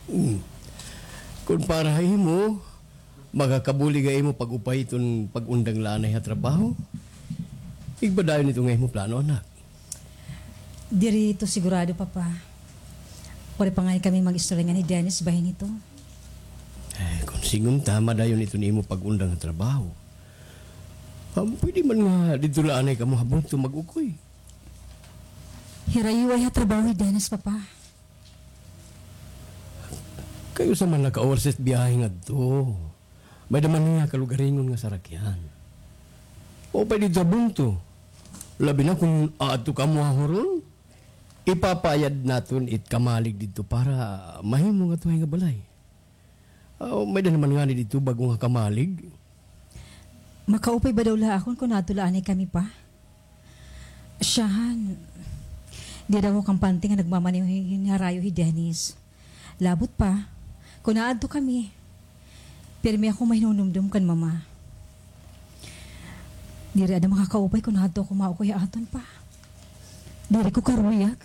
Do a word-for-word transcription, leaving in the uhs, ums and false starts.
Hmm. Kon para ha imo, makakabulig ha imo pag-upay iton pag-undang la anay ha trabaho. Igba dayon ito nga imo plano, anak. Diri ito sigurado, Papa. Waray pa ngani kami mag-istorya ngan hi Dennis bahin hito. Eh, kon sidngon ta, madayon ito nimo pag-undang ha trabaho. Ah, pwede man nga didto la anay kamo ha bungto mag-ukoy. Hirayo ay ha trabaho hi Dennis, Papa. Kay usa man la ka oras it biyahe ngadto. May-ada man niya kalugaringon nga sarakyan. Maupay didto ha bungto. Labi na kon aadto kamo ha huron, ipapaayad naton it kamalig didto para mahimo nga tuhay nga balay. Ah, may-ada naman ngani didto bag-o nga kamalig. Makaupay ba daw la akon kon aadto la anay kami, Pa? Siyahan, diri daw ako kampante nga nagmamaneho hin harayo hi Dennis. Labot pa, kon aadto kami, pirmi ako mahinumdom kan Mama. Diri ada makakaupay kon aadto ako maukoy ha aton, Pa. Diri ko karuyag.